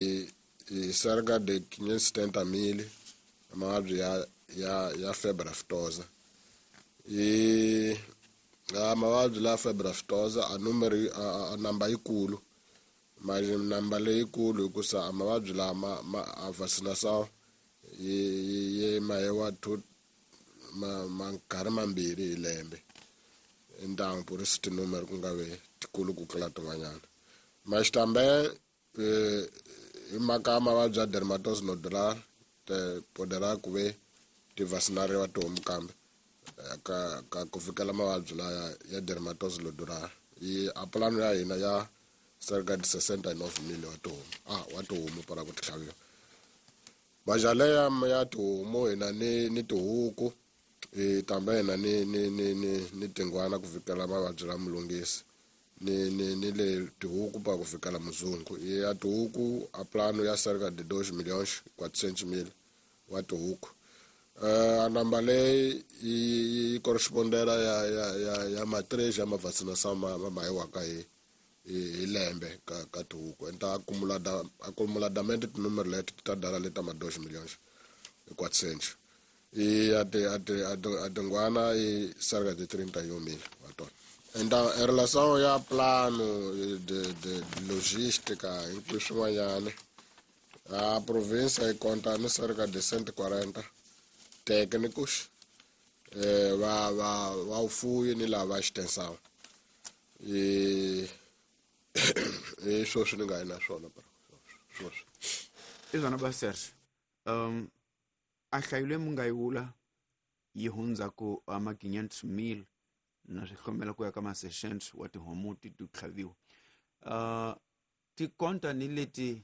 Hi cerca de 570 mil mavabyi ya febre aftosa. I a mavabyi la febre aftosa a numero a namba yikulu, manje namba leyikulu hikusa a mavabyi lama ma a vaccination yi mahewa two ma nkarhi mambirhi hi lembe. Então por isso tinúmero ku nga ve tikulu ku tlula tin'wanyana. Mas também hi mhaka ya mavabyi ya dermatosis nodular te poderá ku ve ti vacinariwa tihomu kambe ka ku fikela mavabyi laya ya dermatosis nodular. Yi a plano ya hina ya cerca de 69 mil wa tihomu, wa tihomu para ku ti tlhaviwa. Majale ya tihomu hina ni tihuku, hi tambe hina ni tingwana ku fikela mavabyi la mulungisi. Ni le tihuku pa ku fikela muzungu. Ya tihuku a plano ya cerca de 2 milhões 400 mil wa tihuku. A namba leyi yi correspondela ya ma 3 ya ma vaccination ma mahiwaka hi lembe ka tihuku. Então acumuladamente tinúmero leti ti ta dala leta ma 2 milhões e 400. E a tingwana i cerca de 31 mil wa tona. Então, em relação ao plano de logística, inclusive swin'wanyana, a província yi conta ni cerca de 140 técnicos, va vufuwi ni lava extensão. E sweswi ni nga yi na swona, sweswi. I swona ba Serge. A hlayo leyi mi nga yi vula yi hundza ku ama 500 mil na swihlomela ku ya ka ma 600 wa tihomu ti tlhaviwa. Ti konta ni leti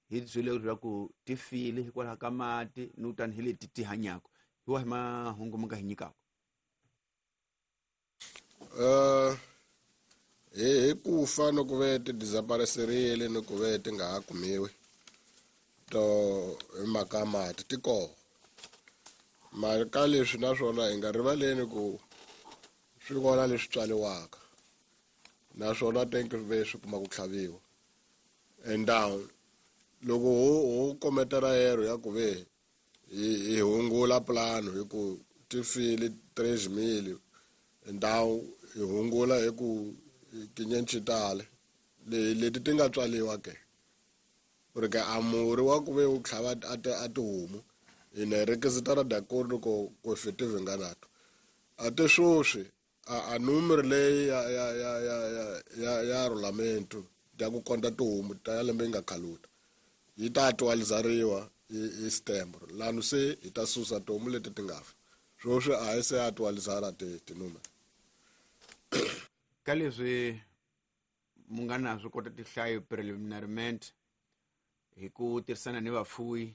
hi byele leswaku ti file hikwalaho ka mati ni tani hi leti ti hanyaka. Hi wahi mahungu mi nga hi nyikaka? Hi ku fa ni ku ve ti desaparecerile ni ku ve ti nga ha kumiwi to hi mhaka ya mati ti kona. Mara ka leswi naswona hi nga rivaleni ku swi kona leswi tswariwaka naswona tem que ve swi kuma ku tlhaviwa. Então loko ho kometela erro ya ku ve hi hungula plano hi ku ti file 3 mil, então hi hungula hi ku tinyenci tale leti ti nga tswariwa ke, porque a murhi wa ku ve wu tlhava a tihomu hi ne requisitar de acordo com efetivo enganato. Até sweswi a número leyi ya rolamento ya ku konta tihomu ta ya lembe yi nga khaluta yi ta actualizariwa hi setembro. Lano se hi ta susa tihomu leti ti nga fa. Sweswi a hi se actualizara tinúmero. Ka leswi mu nga na swi kota tinhlayo preliminarmente hi ku tirhisana ni vafuwi,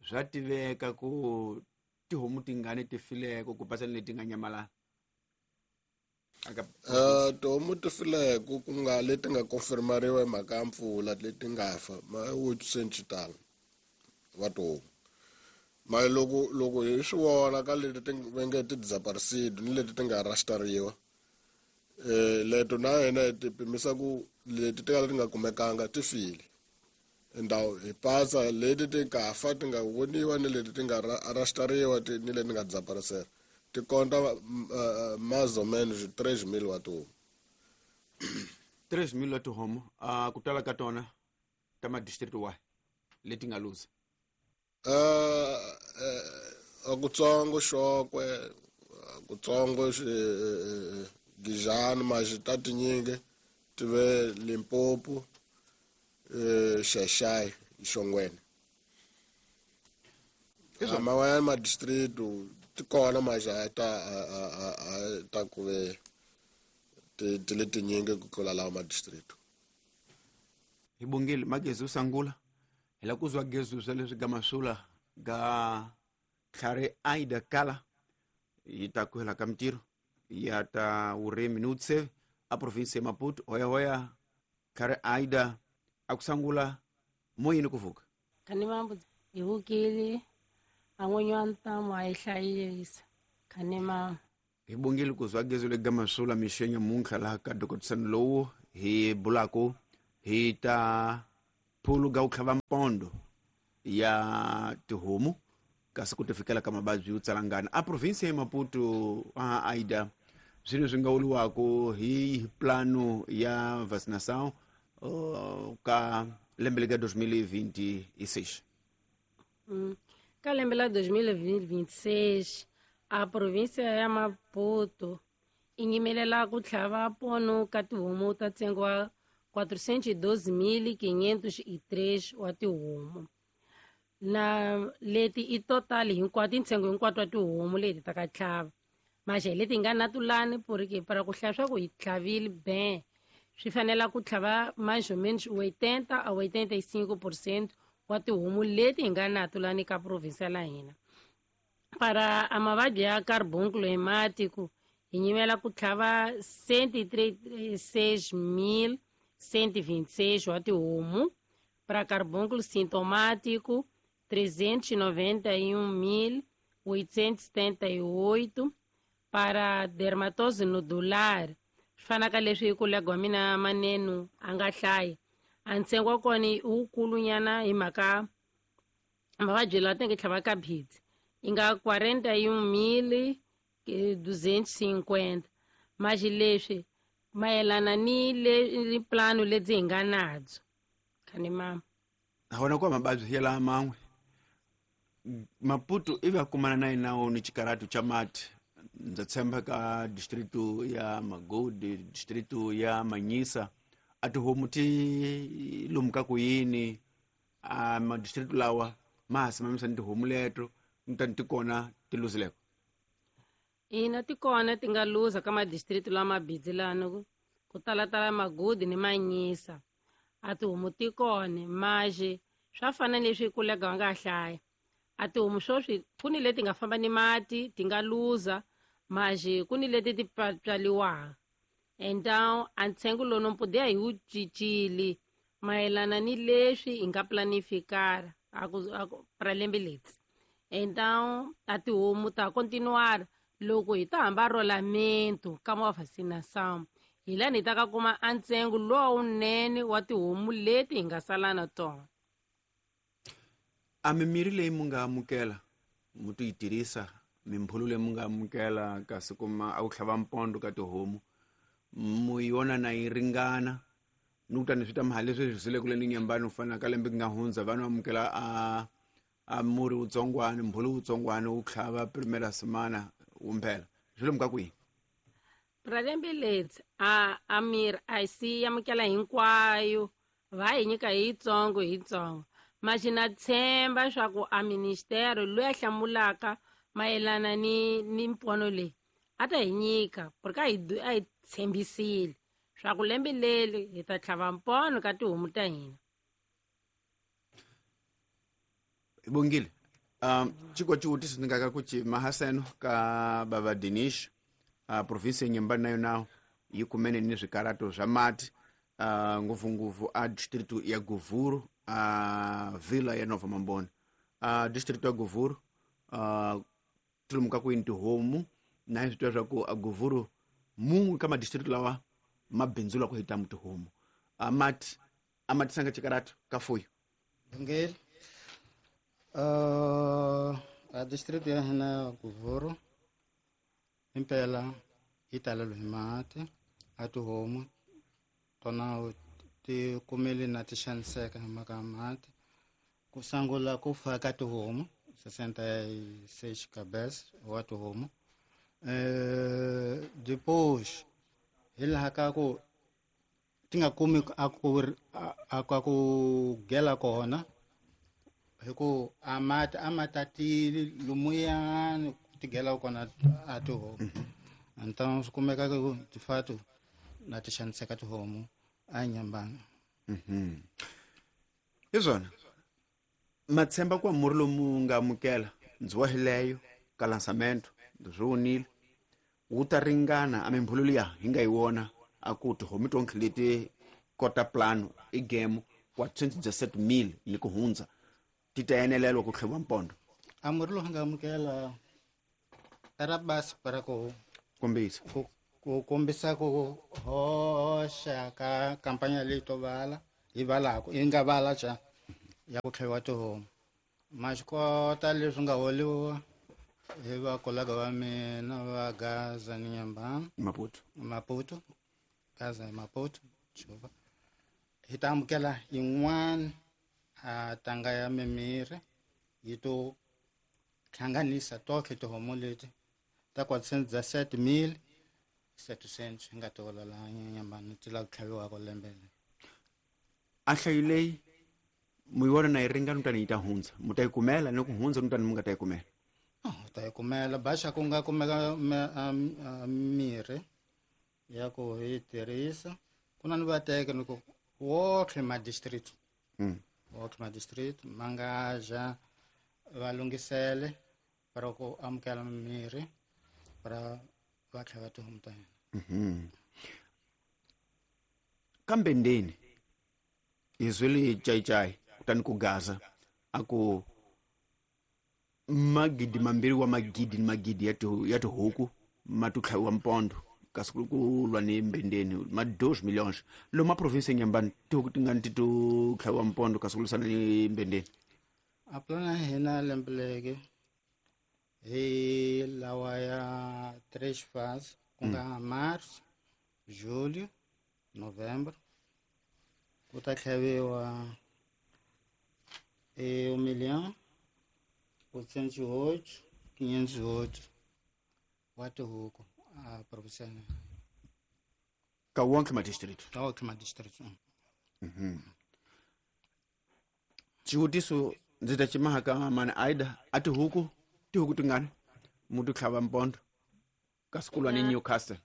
swa tiveka ku tihomu tingani ti fileko ku pasa ni leti nga nyamalala? Tihomu ti fileko ku nga leti nga confirmariwa hi mhaka ya mpfula leti nga fa ma 800 tala wa tihomu. Mara loko hi swi vona ka leti ti va nge ti desaparecida ni leti ti nga rastariwa, leto na hina hi ti pimisa ku leti ti ka leti nga kumekanga ti file. Então hi pasa leti ti nga fa ti nga voniwa ni leti ti nga rastariwa ni leti nga desaparecer. Ti konta mais ou menos 3 mil wa tihomu. 3 mil wa tihomu, ku tala ka tona ta ma district wahi leti nga luza? Kutsongo Xokwe, kutsongo Gijani, maxi ta tinyingi ti ve Limpopo, Xaxai, Xongweni. Man'wanyana ma district ti kona maxi a ta a ta ku ve ti le tinyingi ku tlula lawa ma district. Hi bongile magezi usangula hi la ku zwa gezu swa leswi ga masula ga tlhari Aida Kala yi ta ku hela ka mintirho ya ta vurimi ni vutsheve a province ya Maputo. Hoya hoya tlhari Aida a ku sangula moyeni ku vuka. Khani mambo hi vukile a n'winyi wa ntamu a yi hlayisa. Khani mambo hi bongile ku zwa gezu le ga masula mixenya muntlha laha ka dokotisano lowu hi bulaku hi ta Phulu ga ku tlhava mpondo ya tihomu kasi ku tifikela ka mavabyi yo tsalangana a provinsi ya Maputo. A Aida, swilo swi nga vuriwaka hi plano ya vacinação ka lembe lika 2026? Ka lembe la 2026 a província ya Maputo i nyimelela ku tlhava pono ka tihomu ta ntsengo wa 412.503 wa tihomu, na leti i total hinkwato, i ntsengo hinkwato wa tihomu leti ta ka tlhava. Maxe leti nga na tulani, porque para ku hlaya swa ku hi tlhavile ben, swi fanela ku tlhava mais ou menos 80 a 85% wa tihomu leti hi nga na tulani ka provinsia la hina. Para a mavabyi ya carbúnculo hemático hi nyimela ku tlhava 136.126 wa tihomu, para carbúnculo sintomático 391.878, para dermatose nodular, swi fanaka leswi kolega wa mina Manenu a nga hlaya, a ntsengo wa kona i wukulunyana hi mhaka mavabyi lawa tenge tlhava ka bhidzi i nga 41.250. Maxi leswi mayelana ni le ni plano lebyi hi nga nabyo khani mama. Hona kwa mababyi ya la man'we Maputo ivi a kumana na yinawo ni xikaratu cha mati. Ndza tshemba ka distrito ya Magodi, distrito ya Manyisa, a tihomu ti lomuka ku yini a madistrito lawa ma ha simamisa ni tihomu leto ni ti kona ti luzileko? Ina, ti kona ti nga luza ka madistrito lama bidzi lano ku talatala Magudi ni Manyisa. A tihomu ti kona, maxe swa fana leswi kolega wa nga hlaya, a tihomu swoswi ku ni leti nga famba ni mati ti nga luza, maxe ku ni leti ti tswaliwaka. Então a ntsengo lowu no podia hi wu cincile mayelana ni leswi hi nga planificar a ku para lembe leri. Então a tihomu ta continuar loko hi ta hamba rolamento ka ma vacinação, hi lani hi ta ka kuma a ntsengo lowunene wa tihomu leti hi nga sala na tona. A mimirhi leyi mu nga amukela mu ti yi tirhisa, mimbhulu leyi mu nga amukela kasi kuma a ku tlhava mpondo ka tihomu, mu yona na yi ringana ni ku tani swi ta mahali leswi swi zile kule ni nyambani, u fana ka lembe ku nga hundza vanhu amukela a murhi wutsongwani, mbhulu wutsongwani wu tlhava primera semana wumphela, swi lomu ka kwihi? Pra lembe leri a mirhi a si amukela hinkwayo, va hi nyika hi yitsongo hi yitsongo. Maxi na tshemba swa ku a ministero loyi a hlamulaka mayelana ni mpono leyi a ta hi nyika, porque a hi tshembisile swa ku lembe leri hi ta tlhava mpono ka tihomu ta hina. Bongile, chiko xivutiso ni nga ka ku ci mahaseno ka bava Dinish, provinsi ya Nyembani nayo nawo yi kumene ni swikarato swa mati, ngopfungopfu a distrito ya Govuro, a vila ya Nova Mambona. Distrito ya Govuro, tilomu ka kwini tihomu na hi swi tiva swa ku a Govuro mun'we ka madistrito lawa ma bindzula ku hitamu tihomu, a mati a ma tisanga xikarato ka fuyo? Bongile. A distrito ya hina ya Govuro impela yi talelwe hi mati, a tihomu tona ti kumele na ti xaniseka hi mhaka ya mati. Ku sungula ku fa ka tihomu 66 cabeças wa tihomu. Depois hi laha ka ku ti nga kumi a ku gela kona, hi ku a mati a ma tatile lumuyani ku ti gela kona a tihomu. Então swi kumeka ku de fato na ti xaniseka tihomu a Nyambani. Hi swona matshemba ku murhi lomu nga amukela ndzi wa hileyo ka lançamento swi vonile wu ta ringana a mimbhulu liya hi nga yi wona a ku tihomu tonke leti kota plano i game 417 000 yi ku hundza ti ta enelelwa ku tlheviwa mpondo? A murhi lowu nga amukela era basi para ku kombisa ku kombisa ku hoxa ka kampanya leyi to vala. hi valaku yi nga vala xa ya ku tlhaviwa tihomu. Ma swi kota leswi nga holiwa hi vakolaga va mina va Gaza ni Nyambana Maputo Gaza ni Maputo Chuva hi ta amukela yin'wana a tanga ya mimirhi yi to hlanganisa tohle tihomu leti ta 417,700 hi nga ti hola laha Nyambana ti lava ku tlhaviwaka lembe leri. A nhlayo leyi mu yi vona na yi ringana kutani yi ta hundza, mu ta yi kumela ni ku hundza kutani mu nga ta yi kumela? U ta yi kumela baxa ku nga kumeka mirhi ya ku hi tirhisa ku na ni va teka ni ku wotlhe ma district. Wotlhe ma district ma nga ja va lunghisele para ku amukela mirhi para va tlhava tihomu ta hina. Kambe ndeni hi zwele cayicayi kutani ku Gaza a ku magidi mambirhi wa magidi ni magidi ya tihuku ma to tlhaviwa mpondo kasi ku lwa ni mbendeni ma 2 millions lomu a province ya Nyambani tihuku tingani ti to tlhaviwa mpondo kasi ku lwisana ni mbendeni? A plan ya hina lembe leri hi lawa ya 3 phase ku nga March, Julho, November ku ta tlhaviwa e 1 milhão oitocentos e oito, quinhentos e oito wa tihuku a province. Ka wonke ma district? Ka wonke ma district. Xivutiso ndzi ta cimaha ka mani Aida, a tihuku tihuku tingani mu ti tlhava mpondo kasi ku lwa ni Newcastle?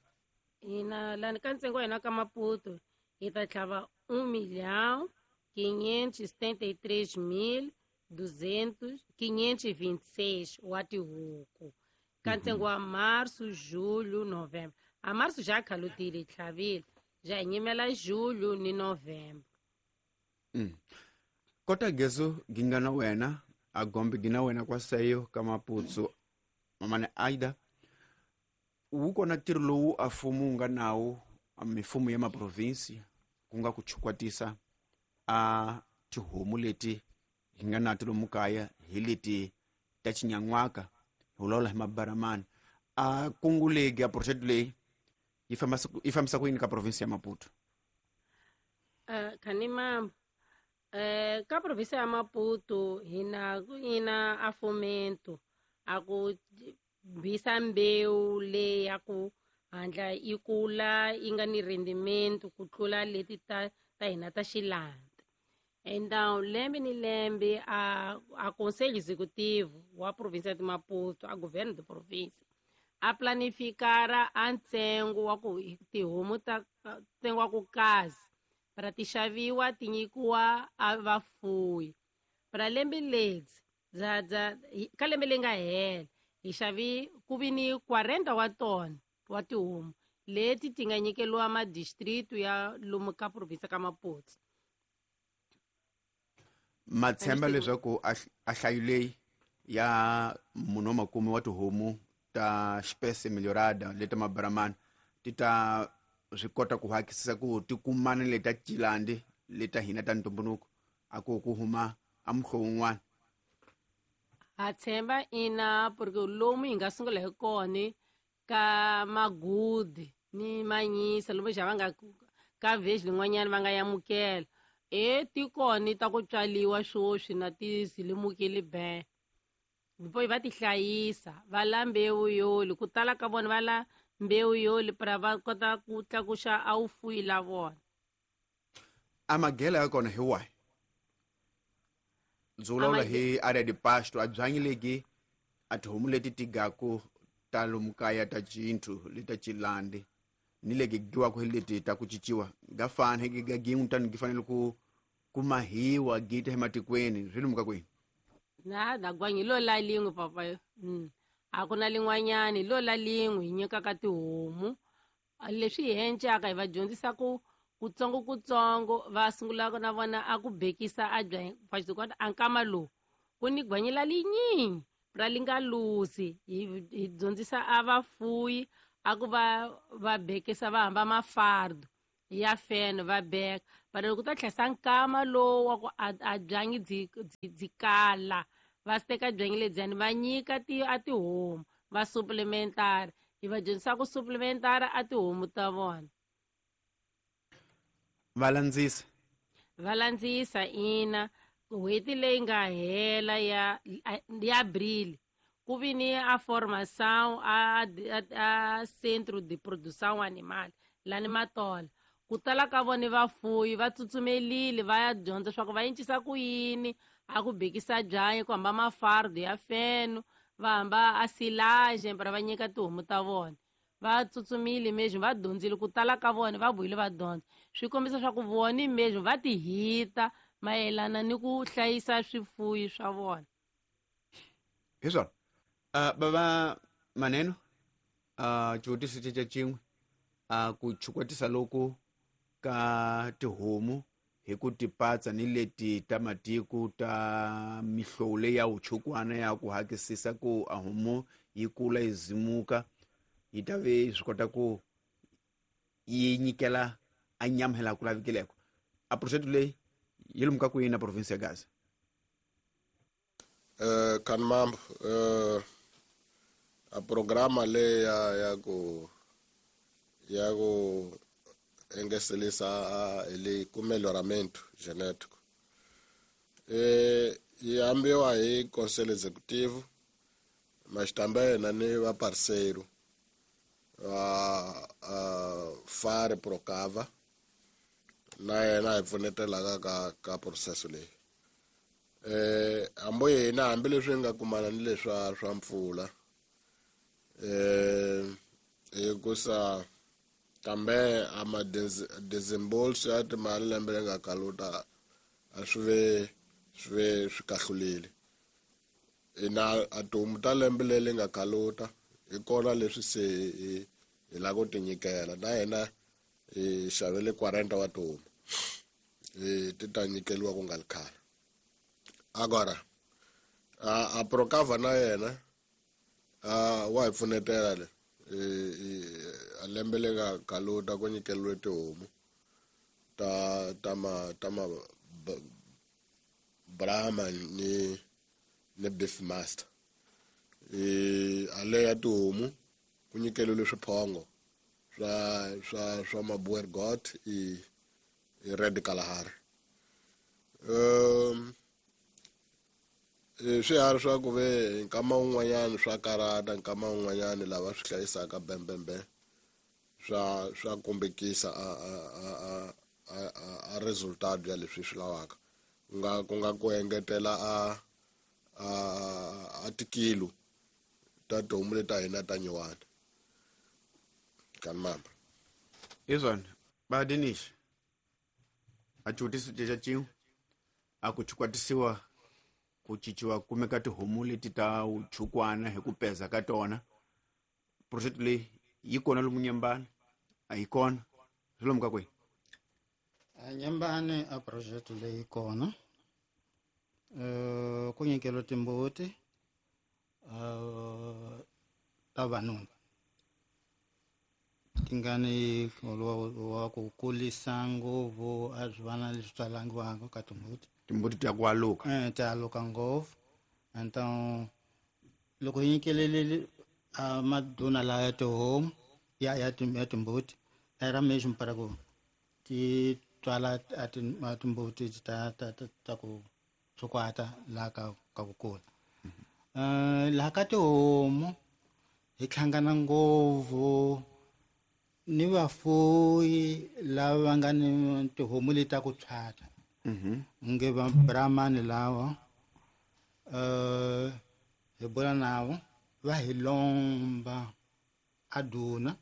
Hina lani ka ntsengo wa hina ka Maputo hi ta tlhava 1.573.526 wa tihuku ka ntsengo wa Março, Julho, Novembro. A Março já khalutile hi tlhavile, ja hi nyimela Julho ni Novembro. Kota gezo ginga na wena a gombe gina wena kwa seyo ka Maputo mamane Aida wu kona ntirho lowu a mfumo wu nga nawu mifumo ya maprovinsi ku nga ku chukwatisa a tihomu leti hi nga na ti lomu kaya hi leti ta xinyan'waka hi vulavula hi mabaramani. A kungu legi a project leyi yi fambisa ku yini ka province ya Maputo? Khani mambo ka province ya Maputo hina ina a fomento a ku bisa mbewu leyi ya ku handla yi kula yi nga ni rendimento ku tlula leti ta hina ta xilanda. Então lembe ni lembe a conselho executivo wa província de Maputo, a governo de província, a planificara a ntsengo wa ku tihomu ta ntsengo wa ku kazi para ti xaviwa ti nyikiwa a vafuwi. Para lembe ledzi ka lembe leri nga hela hi xavi ku vi ni 40 wa tona wa tihomu leti ti nga nyikeliwa madistritu ya lomu ka province ka Maputo. Ma tshemba leswaku a hlayo leyi ya munhu wa makume wa tihomu ta xipese melhorada leta mabaramani ti ta swi kota ku hakisisa ku ti kumana leta cilandi leta hina ta ntumbuluko a ku ku huma a muhlovo wun'wana? Ha tshemba ina, porque lomu hi nga sungula hi kona ka magudi ni manyisa lomu xa va nga ka village lin'wanyana va nga yamukela e tikoni ta ku tswaliwa swoswi na ti zilimukile be bo va ti hlayisa va la mbewu yoli ku tala ka vona va la mbewu yoli para va kota ku tlakuxa a wu fuyi la vona. A magela ya kona hi wahi? Ndzi vulavula hi area de pasto a byanyi legi a tihomu leti ti gaku ta lomu kaya ta cinthu leta cilandi ni legi giwaka hi leti ta ku cinciwa ga fana hi ga gin'we tani gi fanele ku mahiwa gita ematikweni swi lomu ka kwini? Na na gwanyi lo la lin'we papa. A ku na lin'wanyani lo la lin'we hi nyikaka tihomu leswi hi encaka hi va dyondzisa ku kutsongo kutsongo va sungula na vona a ku bekisa a bya a nkama lowu ku ni gwanyi la linyingi ra li nga luzi hi dyondzisa a vafuyi a ku va bekisa va hamba mafardo ya feno va beka. But loko ku ta tlhesa nkama lowu wa ku a byanyi byi kala, va teka byanyi lebyiyani va nyika a tihomu, va supplementara. Hi va dyondzisa ku supplementara a tihomu ta vona. Va landzisa. Va landzisa ina. N'hweti leyi nga hela ya Abril ku vi ni a formação a Centro de Produção Animal lani Matola. Ku tala ka vona vafuyi va tsutsumelile va ya dyondza swa ku va encisa ku yini, a ku bekisa byanyi, ku hamba mafardo ya feno, va hamba a silage para va nyika tihomu ta vona. Va tsutsumile mesmo, va dyondzile ku tala ka vona, va vuyile va dyondza. Swi kombisa swa ku vona mesmo va ti hita mayelana ni ku hlayisa swifuyi swa vona. Hi swona. Bava Maneno, xivutiso xa xin'we, ku chukwatisa loku ka tihomu hi ku tipatsa ni leti ta matiko ta mihlovo leyi ya vuchukwana ya ku hakisisa ku a homu yi kula yi zimuka, yi ta ve swi kota ku yi nyikela a nyama hi laha ku lavikeleko. A project leyi yi lomuka ku yini na province ya Gaza? Kanmambo, a programa leyi ya ku engeselisa ele ku melhoramento genético. Yi ambiwa hi Conselho Executivo, mas também na ni va parceiro va Fare Procava, na yena hi pfunetelaka ka processo leyi. Hambi hina hambileswi hi nga kumana ni leswa swa mpfula, hikusa kambe a ma desembolso ya timali lembe leri nga kaluta a swi ve swi kahlulile. Hina a tihomu ta lembe leri nga kaluta hi kona leswi se hi lava ku ti nyikela. Na hina hi xavele 40 wa tihomu, ti ta nyikeriwa ku nga ri khale. Agora a Procava na yena wa hi pfunetela le. A lembe leri nga kaluta ku nyikeriwe tihomu ta ma Brahma ni Beef Master. A le ya tihomu ku nyikeriwe swiphongo swa Maboer Goat i Red Kalahari. Swiharhi swa ku ve nkama wun'wanyani swa karata, nkama wun'wanyani lava swi hlayisaka bembembe swa kombekisa a resultado ya leswi swi lavaka. Ku nga ku engetela a tikilo ta tihomu leti ta hina ta nyuwana. Kanmamba. Hi swona. Ba Dinish, a xivutiso xa xin'we, a ku chukwatisiwa ku cinciwa kumeka tihomu leti ta vuchukwana hi ku peza ka tona. Project leyi yi kona lomu Nyembani? A yi kona. Swi lomu ka kwihi? A Nyembani a project leyi kona. Ku nyikeriwa timbuti ta vanuna ti nga ni wa ku kulisa ngopfu, a swi vana leswi tswalangiwaka ka timbuti. Timbuti ta ku aluka. Ta aluka ngopfu. Então loko hi nyikelele a maduna lawa ya tihomu ya timbuti, era mesmo para ku ti tswala a timbuti ta ku tshukwata laha ka ku kula. Laha ka tihomu hi hlangana ngopfu ni vafuyi lava va nga ni tihomu leti ta ku tshwata. Nge va Brahmani lawa, hi bula navo va hi lomba a duna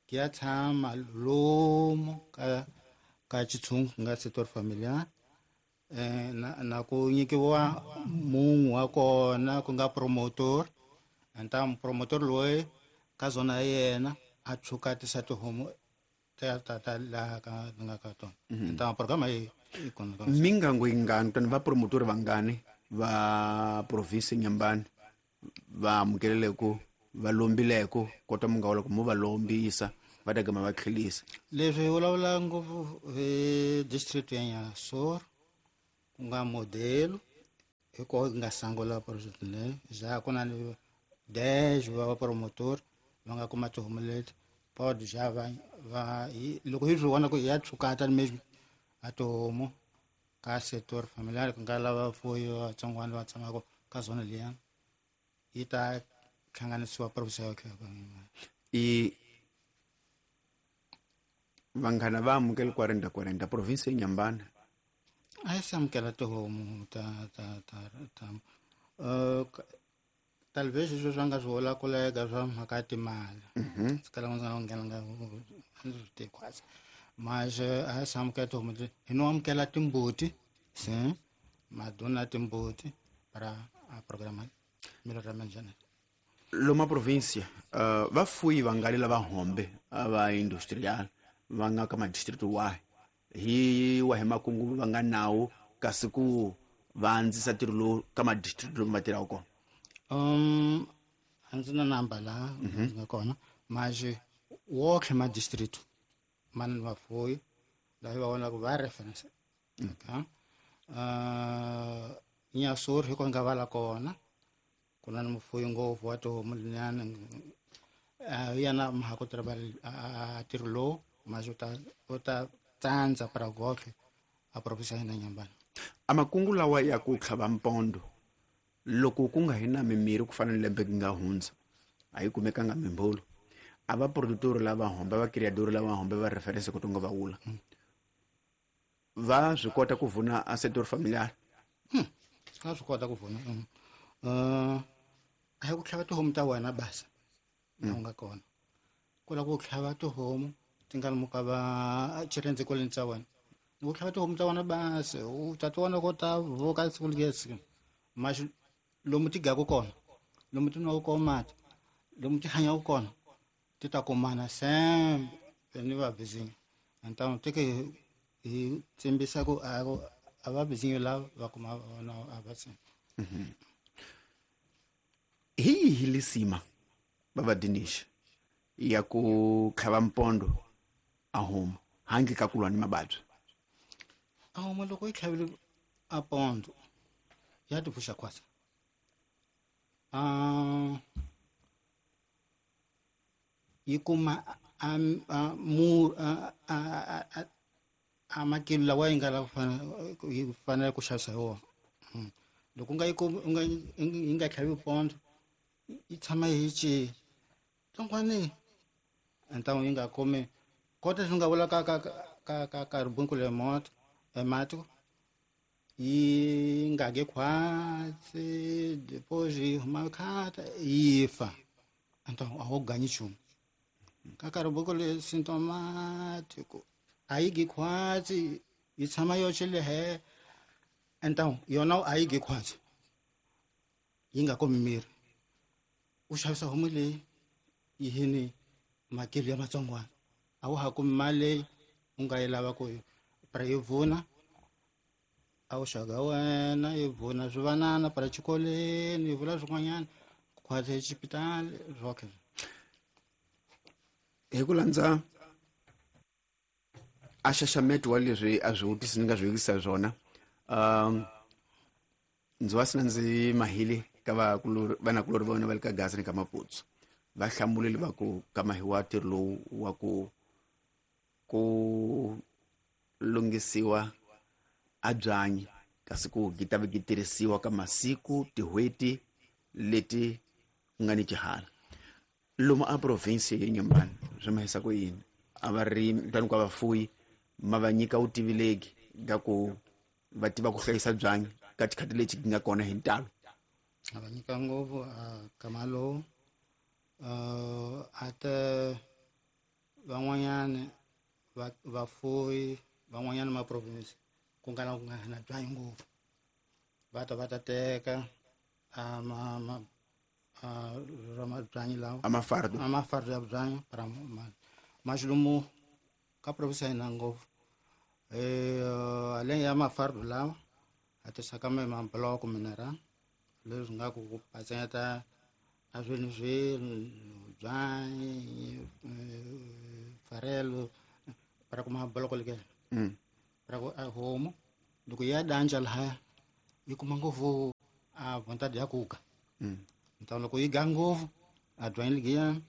ki ya tshama lomu ka xitshungu ku nga setor familiar. Na ku nyikiwa munhu wa kona ku nga promotor. Então promotor loyi ka zona ya yena a tshukatisa tihomu ta laha ka nga ka tona. Então programa yi kona ka Mingango yingani tani va promotor vangani va province Nyembani va amukeleleko va lombileko kota munga wa loko mo va lombisa Va ta gama va tlhelisa. Leswi hi vulavula ngopfu hi district ya Nyasor ku nga modelo hi koho hi nga sungula project leyi ja ku na ni 10 va promotor va nga kuma tihomu leti pod ja va va loko hi swi vona ku ya tshukata mesmo a tihomu ka sector familiar ku nga lava fuyi vatsongwana va tshamaka ka zona liya yi ta hlanganisiwa province ya i vanghana va amukela 40 40 province ya Nyambana a yi se amukela tihomu ta ta ta ta talvez sweswi va nga swi vula ku lega swa mhaka ya timali ndzi kala ndzi nga nghena nga ndzi swi tivi khwatsi mas a yi se amukela tihomu hi no amukela timbuti se maduna timbuti para a programa melhoramento genético. Loma província vafuyi va nga lava hombe va industrial va nga ka madistrict wahi hi wahi makungu va nga nawo kasi ku va andzisa ntirho lowu ka madistrict lomu va tirhaka kona? A ndzi na namba laha ndzi nga kona mas wotlhe madistrict ma na vafuyi laha va vonaka va reference okay. Nyasur hi ko nga vala kona ku na mufuyi ngopfu wa tihomu linyana yena mhaka a ntirho lowu mas u ta tsandza para gotlhe a province ya hina Nyambana. A makungu lawa ya ku tlhava mpondo loko ku nga hi na mimirhi ku fana ni lembe ku nga hundza a yi kumekanga mimbolo a va producteur lava hombe va criador lava hombe va reference ku tonga va wula va swi kota ku vuna a sector familiar. Va swi kota ku vuna a hi ku tlhava tihomu ta wena basa la u nga kona ku lava ku tlhava tihomu ti nga lomu ka va xirhendze kwaleni tsa wena ku tlhava tihomu ta wena basa u ta ti vona ko ta vuka siku lesi mas lomu ti gaku kona lomu ti nwaka kona mati lomu ti hanyaka kona ti ta kumana sembe ni va vizinyo então teke hi tsimbisa ku a va vizinyo lava va kuma vona a va tsimba. Hi yihi lisima baba Dinesh ya ku tlhava mpondo a homu handle ka ku lwa ni mavabyi? A homu loko yi tlhavile a pondo ya ti pfuxa khwatsa yi kuma a makilo lawa yi nga lava yi fanele ku xavisa hi wona. Loko nga yi yi nga tlhavi pondo yi tshama yi ci tsongwani então yi nga kumi kota swi nga vula ka ka ka ka ka ribunku le moto emati yi nga ge khwatsi depois yi huma khata yi fa então a wu ganyi nchumu ka ka ribunku le symptomático a yi gi khwatsi yi tshama yoxe lehe então yona a yi gi khwatsi yi nga kumi miri u xavisa homu leyi yi hini makilo ya matsongwana a wu ha kumi mali leyi u nga yi lava ku para yi vuna a wu xaga wena yi vuna swivanana para xikolweni yi vula swin'wanyana khwatsi exipitali swoke. Hi ku landza a xaxameto wa leswi a swi vutisi ni nga swi vekisa swona ndzi wa sina ndzi mahile ka vanakulori va vona va le ka Gaza ni ka Maputsu va hlamuleli va ku ka mahiwa ntirho lowu wa ku ku lunghisiwa a byanyi kasi ku gi ta vi tirhisiwa ka masiku tin'hweti leti ku nga ni xihala lomu a province ya Nyambana swi mahisa ku yini a varimi tani ku vafuyi ma va nyika vutivi ka ku va tiva ku hlayisa byanyi ka tikhati leti nga kona hi ntalo? A va nyika ngopfu kama lowu ate van'wanyana vafuyi van'wanyana ma province ku nga na ku nga na byanyi ngopfu va ta va ta teka byanyi lawa a mafardo a mafardo ya byanyi para maxilumu ka province ya hina ngopfu aleng ya mafardo lawa a tisaka me mabloko mineral leswi nga ku patsanyeta A swilo swilo byanyi farelo para kuma boloko leke. Para ku a homu loko ya danja lahaya yi kuma ngopfu a vontade ya kuga. Então loko yi ga ngopfu a byanyi ligiya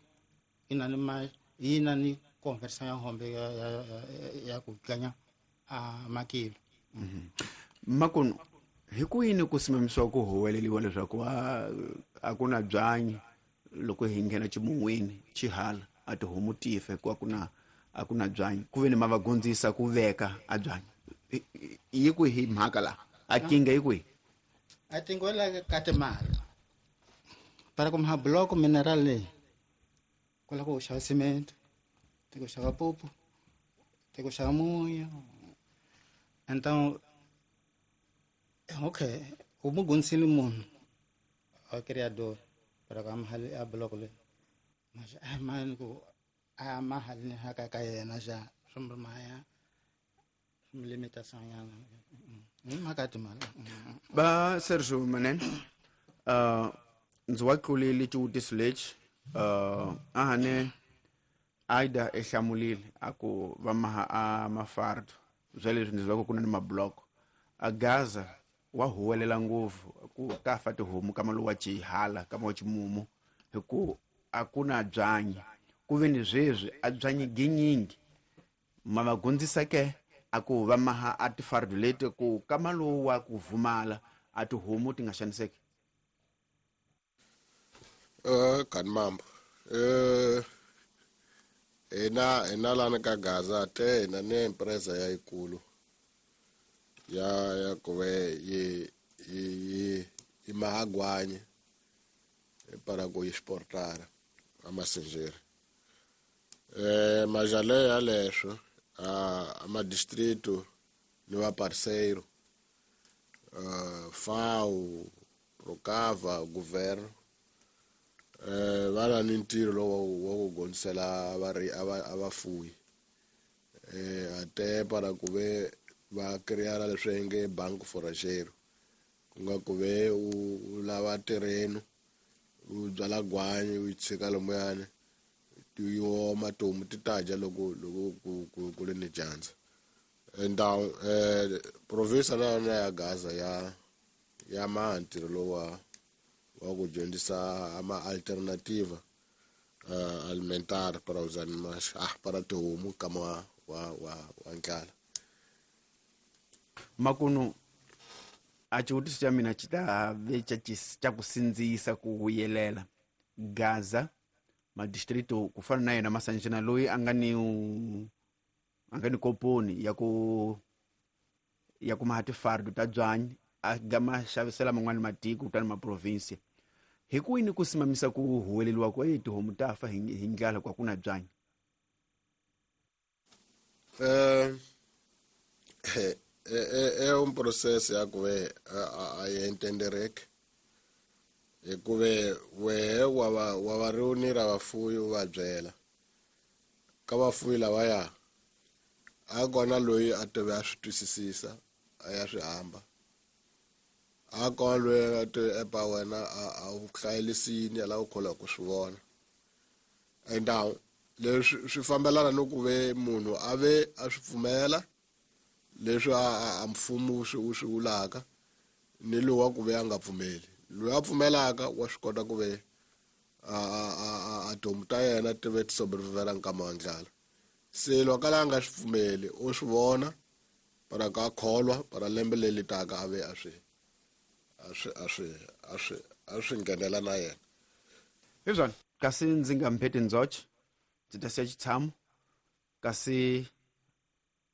yi na ni ma yi na ni conversão ya hombe ya ku ganya a makilo. Makunu hi ku yini ku simamisiwa ku huweleliwa leswaku a ku na byanyi loko hi nghena ximun'wini xihala a tihomu ti fa hikuva a ku na byanyi ku ve ni ma va gondzisa ku veka a byanyi yi kwihi mhaka laha a kinga yi kwihi? A tingwela ka timali para ku maha bloco mineral leyi ku lava ku xava cement, ti ku xava pupu, ti ku xava munyu. Então okay, u mu gondzisile munhu a criador para ku a a bloco leyi mas a mani ku a mahali ni haka ka yena xa swi maya swi limitação nyana hi mhaka ya timali. Va Sergio Manene, ndzi wa tlulile xivutiso lexi a hane Aida e hlamulile a ku va maha a mafardo bya leswi ndzi zwaka ku na ni mabloko a Gaza wa huwelela ngopfu ku ka fa tihomu kama lowa xihala kama wa ximumu hi ku a ku na byanyi ku ve ni sweswi a byanyi ginyingi ma va gondzisa ke a ku va maha a tifardo leti ku kama lowu wa ku vumala a tihomu ti nga xaniseki. Kan mambo hina lana ka Gaza te hina ni empresa ya yikulu ya ku ve yi mahagwanyi para ku exportara a masenjeri. Majale ya leswo a ma distrito ni va parceiro FAO Procava governo va na ni ntirho lowu wa ku gondzisela a vafuwi ate para ku ve va creara leswi nge banco forrageiro ku nga ku ve u lava terreno u byala gwanyi u yi tshika lomuyani yi oma tihomu ti ta dya loko loko ku ri ni dyandza. Então province na yona ya Gaza ya maha ntirho lowu wa ku dyondzisa ama alternativa alimentar para os animais para tihomu kama wa ndlala. Makunu a xivutiso xa mina xi ta ve xa ku sindzisa ku vuyelela Gaza madistrito ku fana na yena Masanjana loyi a nga ni koponi ya ku maha tifardo ta byanyi a ga ma xavisela man'wani matiko kutani maprovinsi hi ku yini ku simamisa ku huweleliwa ku tihomu ta fa hi ndlala ku a ku na byanyi? É um processo ya ku ve a yi entendereke hikuve wehe wa va reunira vafuwi u va byela ka vafuwi lavaya a kona loyi a tive a swi twisisisa a ya swi hamba a kona loyi a tive epa wena a wu hlayelisini a lava ku kholwa ku swi vona. Então leswi swi fambelana ni ku ve munhu a ve a swi pfumela leswi a mfumo wu swi vulaka ni lowu wa ku ve a nga pfumeli. Loyi a pfumelaka wa swi kota ku ve a tihomu ta yena ti ve ti sobrevivela nkama wa ndlala. Se loko a nga swi pfumeli u swi vona para ka kholwa para lembe leri taka a ve a swi nghenela na yena. Hi swona kasi ndzi nga mpheti ndzoche ndzi ta siya xitshamo kasi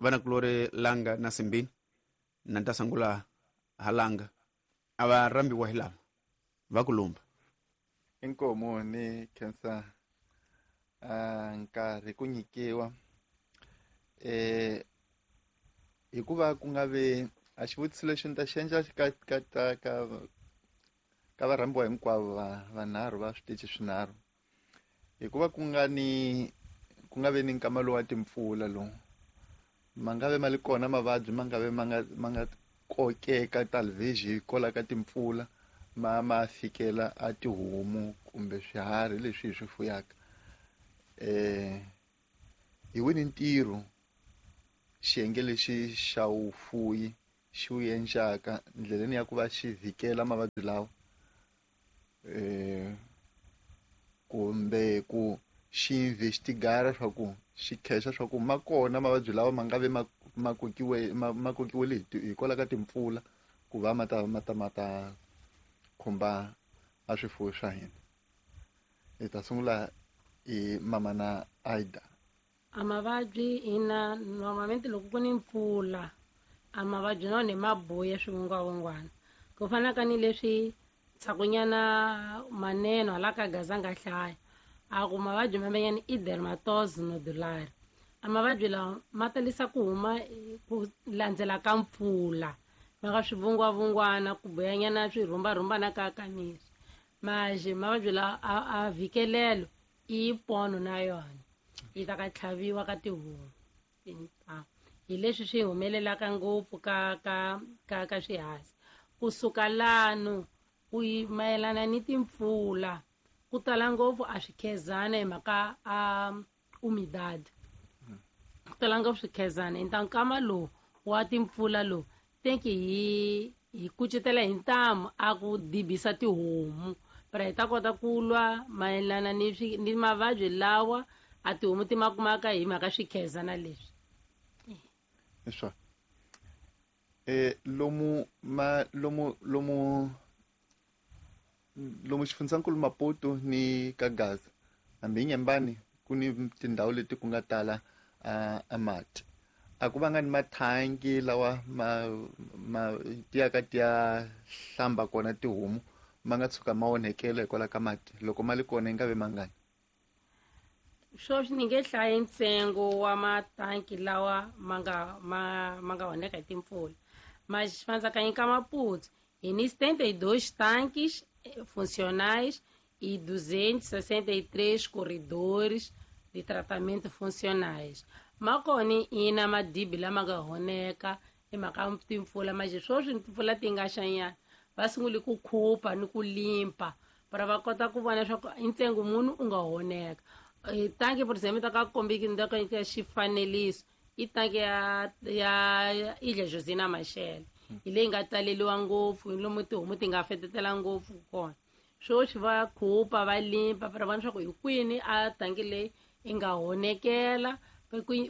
vanakulori Langa na Simbini na ta sungula ha Langa a va rhambiwa hi lava va ku lumba. Inkomu ni khensa nkarhi ku nyikiwa hikuva ku nga ve a xivutiso lexi ni ta xi endla ka varhambiwa hinkwavo vanharhu va switichi swinharhu hikuva ku nga ve ni nkama lowu wa timpfula lowu ma nga ve ma li kona mavabyi ma nga ve ma nga kokeka talvez hi kola ka timpfula ma fikela a tihomu kumbe swiharhi leswi hi swi fuyaka. Hi wini ntirho xiyenge lexi xa vufuwi xi wu endlaka ndleleni ya ku va xi vhikela mavabyi lawa, kumbe ku xi investigara swa ku xi khexa swa ku ma kona mavabyi lawa ma nga ve ma kokiwe ma kokiwile hikwalaho ka timpfula ku va ma ta khumba a swifuwo swa hina. Hi ta sungula hi mama na Aida. A mavabyi ina normalmente loko ku ni mpfula a mavabyi na wona ma buya swivungwavungwana ku fana ka ni leswi tshakunyana maneno hala ka Gaza nga hlaya a ku mavabyi mamenyana i dermatose nodular. A mavabyi lawa ma talisa ku huma ku landzela ka mpfula ma ka swivungwavungwana ku buyanyana swirhumbarhumbana ka ka miri. Maje mavabyi lawa a vhikelelo i pono na yona yi ta ka tlhaviwa ka tihomu. Hi leswi swi humelelaka ngopfu ka ka ka ka swiharhi. Kusuka lano ku mayelana ni timpfula ku tala ngopfu a swikhezana hi mhaka a umidad. Ku tala ngopfu swikhezana hi nkama lowu wa timpfula lowu tenki hi kucetela hi ntamu a ku dibisa tihomu para hi ta kota ku lwa mayelana ni mavabyi lawa a tihomu ti ma kumaka hi mhaka swikhezana leswi. Leswa lomu ma lomu lomu lomu xifundzankulu Maputo ni ka Gaza hambi Nyembani ku ni tindhawu leti ku nga tala a mati a ku va nga ni mathangi lawa ma tiyaka tiya hlamba kona tihomu ma nga tshuka ma onhekela hikwalaho ka mati loko ma li kona yi nga ve mangani. Sweswi ni nge hlayi ntsengo wa matanki lawa ma nga onheka hi timpfula. Mas xifandzakanyi ka Maputo hi ni 72 tanques funcionais e 263 corredores de tratamento funcionais. Makoni ina madibi lama nga honeka hi mhaka timpfula manje sweswi timpfula ti nga xanyana va sungule ku khupa ni ku limpa para va kota ku vona leswaku i ntsengo munhu u nga honeka. Tanki por exemplo ta ka kombiki ndaka ya xifaneliso i tanki ya Ilha Josina Machel hi leyi nga taleliwa ngopfu lomu tihomu ti nga fetetela ngopfu kona. Sweswi va khupa va limpa para vona leswaku hi kwini a tanki leyi yi nga honekela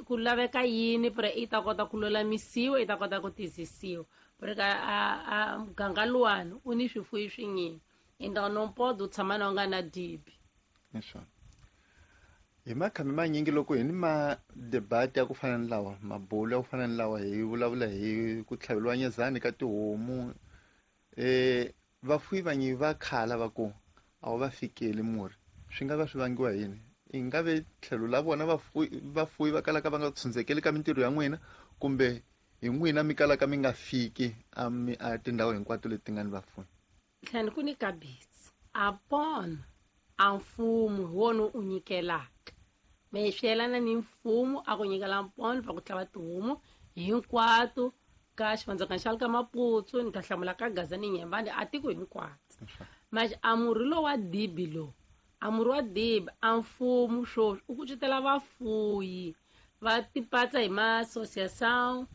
ku laveka yini para i ta kota ku lulamisiwa i ta kota ku tizisiwa porque a muganga luwani u ni swifuyi swinyingi então não pode u tshama na u nga na dibi. Hi makhame manyingi loko hi ni ma debate ya ku fana ni lawa mabulo ya ku fana ni lawa hi vulavula hi ku tlhaveliwa nyezani ka tihomu vafuwi vanyi va khala va ku a wu va fikeli murhi swi nga va swi vangiwa yini? I nga ve tlhelo la vona vafuwi va kalaka va nga tshundzekeli ka mintirho ya n'wina kumbe hi n'wina mi kalaka mi nga fiki a tindhawu hinkwato leti nga ni vafuwi. Tlhani ku ni kabisi a pona a mfumo hi wona u nyikelaka me swi yelana ni mfumo a ku nyikela mpono va ku tlhava tihomu hinkwato ka xivandzakani xa le ka Maputo ni ta hlamula ka Gaza ni Nyembani a tiko hinkwato. Manje a murhi lowu wa dibi lowu a murhi wa dibi a mfumo sweswi u kucetela vafuyi va tipatsa hi ma-associação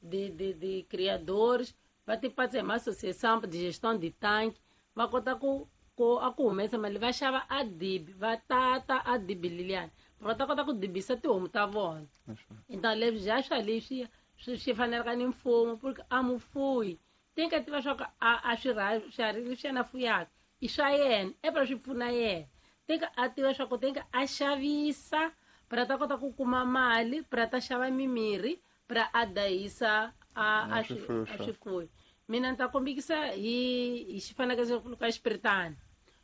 de criadores va tipatsa hi ma-associação de gestão de tanque va kota ku a ku humesa mali va xava a dibi va tata a dibi leliyani va ta kota ku dibisa tihomu ta vona. Então leswi bya swa leswi swi fanelaka ni mfumo porque a mufuyi tinka tiva swa ku a swiharhi leswi yena fuyaka i swa yena epela swi pfuna yena tinka a tiva swa ku tinka a xavisa para ta kota ku kuma mali para ta xava mimirhi para a dayisa a swifuyo. Mina ni ta kombekisa hi xifanekiso ka xipiritana.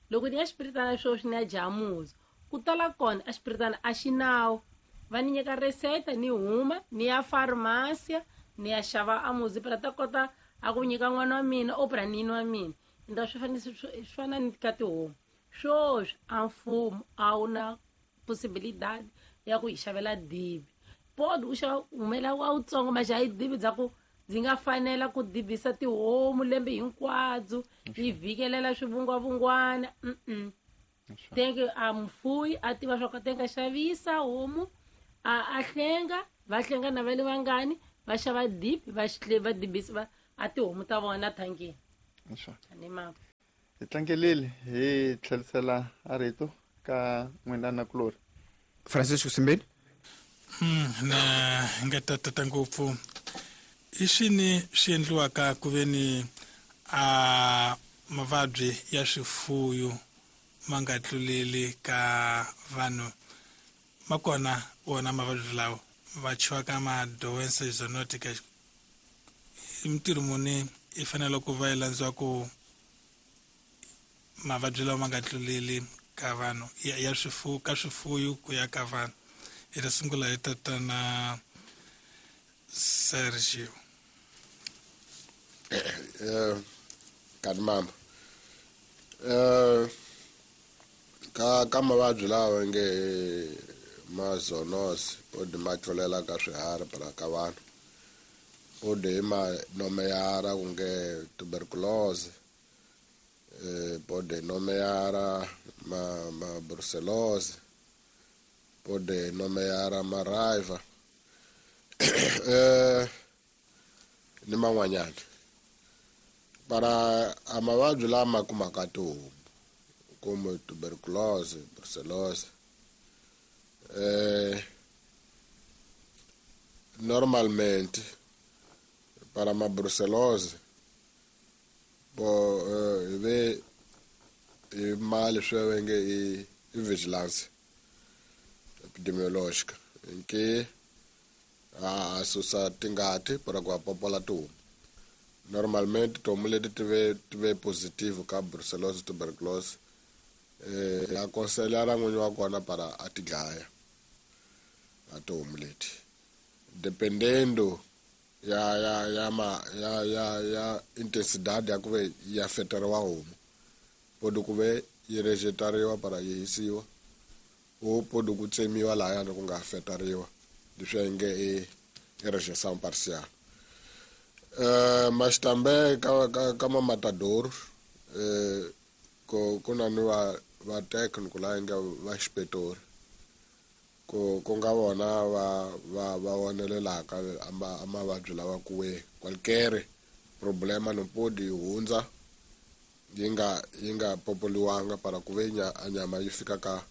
Loko ni ya xipiritana sweswi ni ya jamuza ku tala kona a xipiritana a xi nawu va ni nyika reseta ni huma ni ya farmasia ni ya xava amuzi para ta kota a ku nyika n'wana wa mina o para nini wa mina. Então swi fana ni ka tihomu sweswi a mfumo a wu na possibilidade ya ku hi xavela dibi pod u xava humela wa wutsongo maxa hi dibi bya ku Ndzi nga fanela ku dibisa tihomu lembe hinkwabyo yi vhikelela swivungwavungwana. Tenke a mufuyi a tiva swa ku tenka xavisa homu a hlenga va hlenga na va le vangani va xava dibi va va dibisa va a tihomu ta vona thankeni. Hi tlangelile hi tlherisela a rito ka n'wina nakulorhi Francisco Simbeni. Na nga tatata ngopfu i swini swi endliwaka ku ve ni a mavabyi ya swifuyo ma nga tluleli ka vanhu ma kona wona mavabyi lawa va chiwaka ma doença zoonotica i mintirho muni i fanele ku va yi landziwa ku mavabyi lawa ma nga tluleli ka vanhu ya swifuwo ka swifuyo ku ya ka vanhu. Hi ta sungula hi tatana Sergio. Kani mama ka mavabyi lawa nge ma zoonose odi ma tlulela ka swiharhi para ka vanhu odi hi ma nomeyara ku nge tuberculose pode nomeara ma brucellose pode nomeara ma raiva ni man'wanyana para a mavabyi lama kumaka tihomu kumbe tuberculose brucellose normalmente para ma brucellose bo hi ve hi mali swi va nge i vigilance epidemiologica nke a susa tingati para ku popola tihomu. Normalmente tihomu leti ti ve positive ka brucellosis tuberculosis akonselela n'winyi wa kona para a ti dlaya a tihomu leti dependendo ya ya ya ma ya ya ya intensidade ya ku ve ya feteriwa homu podi ku ve yi rejetariwa para yi hisiwa o podi ku tsemiwa lahayani ku nga feteriwa leswi nge i rejeição parcial. Mas também ka ma matador ku na ni va técnico laha nge va xipetori ku nga vona va vonelelaka a mavabyi lawa ku we qualquer problema no podi hundza yi nga popoliwanga para ku ve a nyama yi fika ka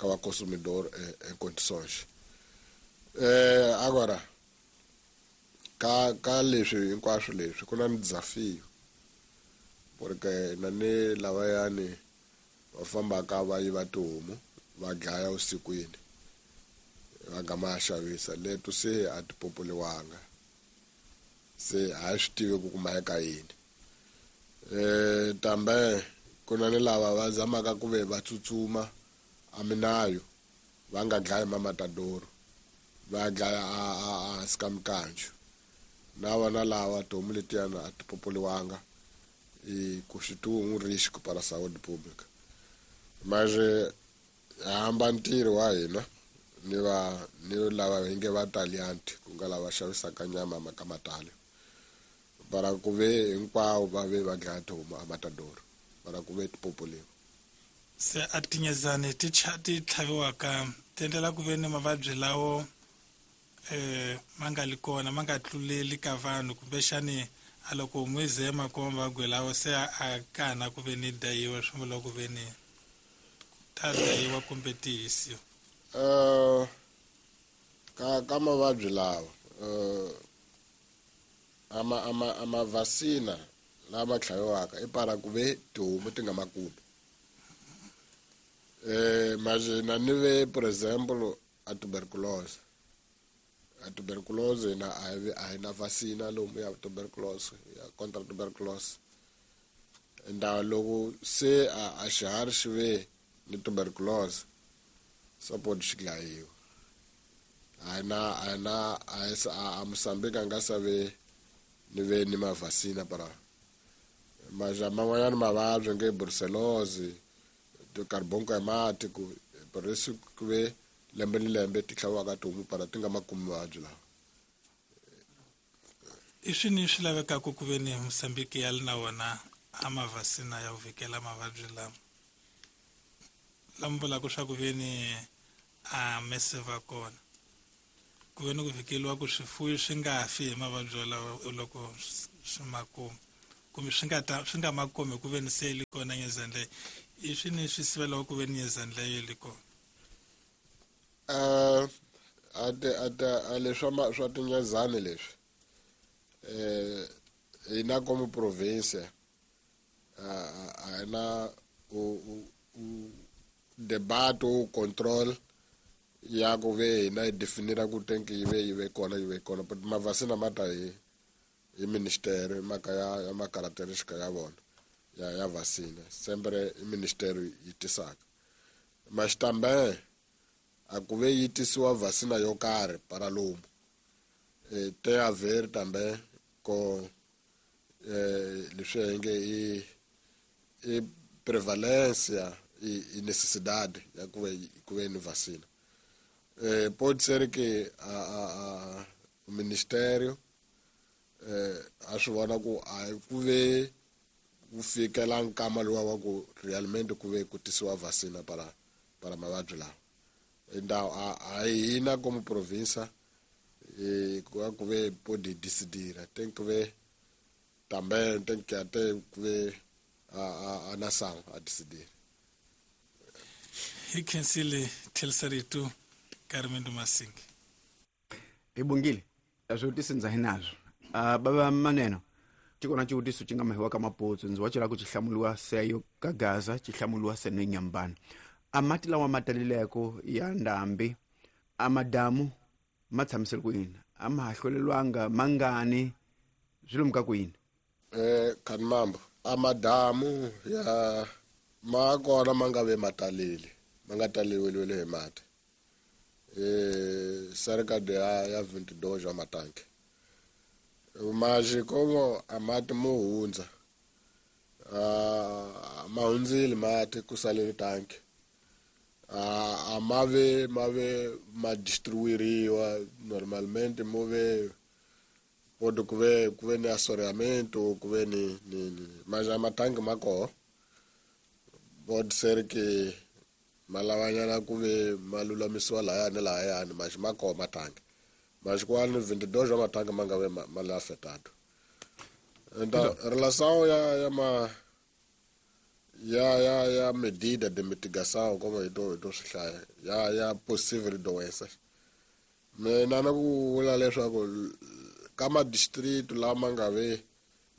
va consumidor em condições. Agora ka leswi hinkwaswo leswi ku na ni desafio porque na ni lavayani va fambaka va yiva tihomu va dlaya vusikwini va gama ya xavisa leto se a ti popoliwanga se a hi swi tivi ku kuma eka yini. Tambe ku na ni lava va zamaka ku ve va tsutsuma a minayo va nga dlayi mamatadoro va dlaya a hansi ka mikanju na vona lava tihomu letiyana a ti popoliwanga e constitui um risco para a saúde pública. Mas hamba ntirho wa hina ni va ni lava hi nge va talianti ku nga lava xavisaka nyama ka matali para ku ve hinkwavo va ve va dlaya tihomu a matadoro para ku ve ti popoliwa. Se a tinyezani ti tlhaviwaka ti endlela ku ve ni mavabyi lawo ma nga li kona ma nga tluleli ka vanhu kumbexani a loko homu yi ze ma kuma mavabyi lawo se a kana ku ve ni dayiwa swi vula ku ve ni ta dayiwa kumbe ti hisiwa. Ka mavabyi lawa ama vacina lama tlhaviwaka i para ku ve tihomu ti nga ma kumi. Mas na ni ve por exemplo a tuberculose. A tuberculose na a hi na vacina lomu ya tuberculose ya contra tuberculose. Nda loko se a xiharhi xi ve ni tuberculose support xi dlayiwa. A na a Mozambique a nga sa ve ni ve ni mavacina para mas man'wanyana mavabyi nge brucellose carbonco hemático por isso ku ve lembe ni lembe ti tlhaviwaka tihomu para ti nga ma kumi mavabyi lawa. I swini swi lavekaka ku ve ni Mosambiki ya li na wona a mavhasina ya ku vhikela mavabyi lama lama vulaka swa ku ve ni a mese va kona ku ve ni ku vhikeliwa ku swifuyo swi nga fi hi mavabyi walawo loko swi ma kuma kumbe swi nga ta swi nga ma kumi ku ve ni se li kona nyezani leyo. I swini swi sivelaka ku ve ni nyezani leyo li kona? A leswi swa tinyezani leswi hina como província a hi na debate o control ya ku ve hina hi definira ku tenki yi ve kona yi ve kona, but mavhasina ma ta hi ministério, mhaka ya macaracterística ya vona ya vacina sempre i ministério yi tisaka. Mas também a ku ve yi tisiwa vacina yo karhi para lomu tem a ver também com leswi hi nge i prevalência e necessidade ya ku ve ni vacina. Pode ser que a o ministério a swi vona ku a ku ve ku fikela nkama luwa wa ku realmente ku ve ku tisiwa vacina para mavabyi lawa. Então a hina como província ku ve pode decidir, tem que ver também, tem que até ver a nação a decidir. Hi khensile tlherisarito Carmendo Masingi. Hi bongile swivutiso ndza hi nazwo. Bava maneno xi kona xivutiso xi nga mahiwa ka maputsu ndzi wa cela ku xi hlamuliwa seyo ka Gaza xi hlamuliwa seno Nyambana. A mati lawa ma talileko ya ndhambi a madamu ma tshamisele ku yini? A ma ha hlwelelwanga mangani swi lomu ka ku yini? Khanimambo, a madamu ya ma kona ma nga ve ma talile, ma nga taleliwile hi mati, cerca de ya 22 wa matanki. Mas como a mati mo hundza, ma hundzile mati ku salele tanki, a ma ve ma distribuiriwa normalmente, mo ve pode ku ve ni assoreamento, ku ve ni mas a matanki ma koho. Pode ser que ma lavanyana ku ve ma lulamisiwa lahaya ni lahayani, mas ma koho matanki, mas kwani 22 wa matanki ma nga ve ma le afetado. Então relação ya ma ya medida de mitigação, como hi to swi hlaya ya possível doenças, mina na ku vula leswaku ka madistritu lama nga ve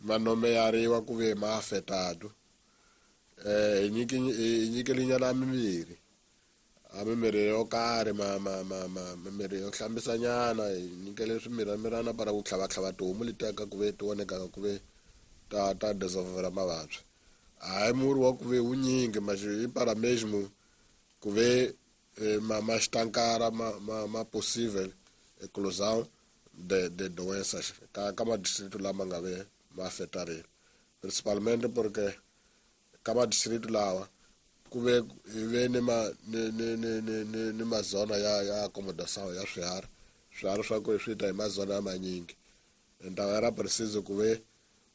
ma nomeyariwa ku ve ma afetado, hi nyikelinyana mimirhi, a mimirhi yo karhi, ma mimirhi yo hlambisanyana, hi nyikele swimiramirana para ku tlhavatlhava tihomu letiya ka ku ve ti vonekaka ku ve ta desenvolver mavabyi. Hayi murhi wa ku ve wunyingi, mas i para mesmo ku ve ma estancar ma possível eclosão de doenças ka madistrito lama nga ve ma afetarile, principalmente porque ka madistrito lawa ku ve hi ve ni ma ni ni ni ni ni ni mazona ya acomodação ya swiharhi swa ku swi ta hi mazona ya manyingi. Então era preciso ku ve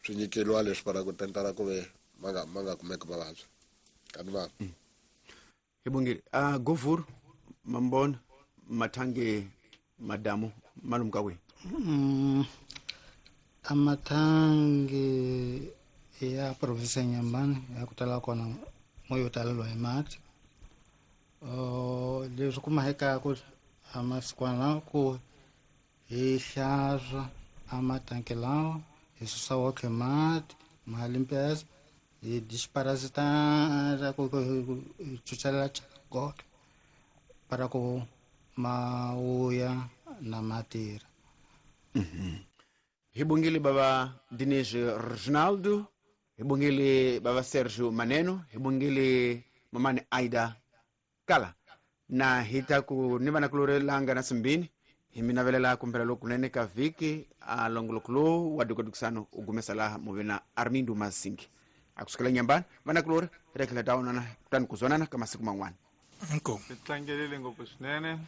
swi nyikeliwa leswi para ku tentara ku ve ma nga kumeki mavabyi kani va. Hi bongile. Govur mambona mathange madamu malumu ka kwihi? Amathangi ya provinsi ya Nyambani ya ku tala kona mo yo taleliwa hi mati. Leswi kumahekaku amasikwana ku hi hlantswa amatanki lawa, hi susa woke mati ma limpeza, hi desparasitar, ku hi chuchelela goke para ku ma vuya na matirha. Hi bongile bava Diniz Reginaldo, hi bongile bava Sergio Maneno, hi bongile mamani Aida Kala na hi ta ku ni vana kulorelanga na simbini. Hi mi navelela kumpela lokunene ka vhiki. A longoloko lowu wa dukadukisano u gumesa laha muve na Armindo Masingi a kusukela Nyambani. Vana kulori hi ta tlhela ta onana kutani ku zwonana ka masiku man'wana. Inkomu. Hi tlangelile ngopfu swinene.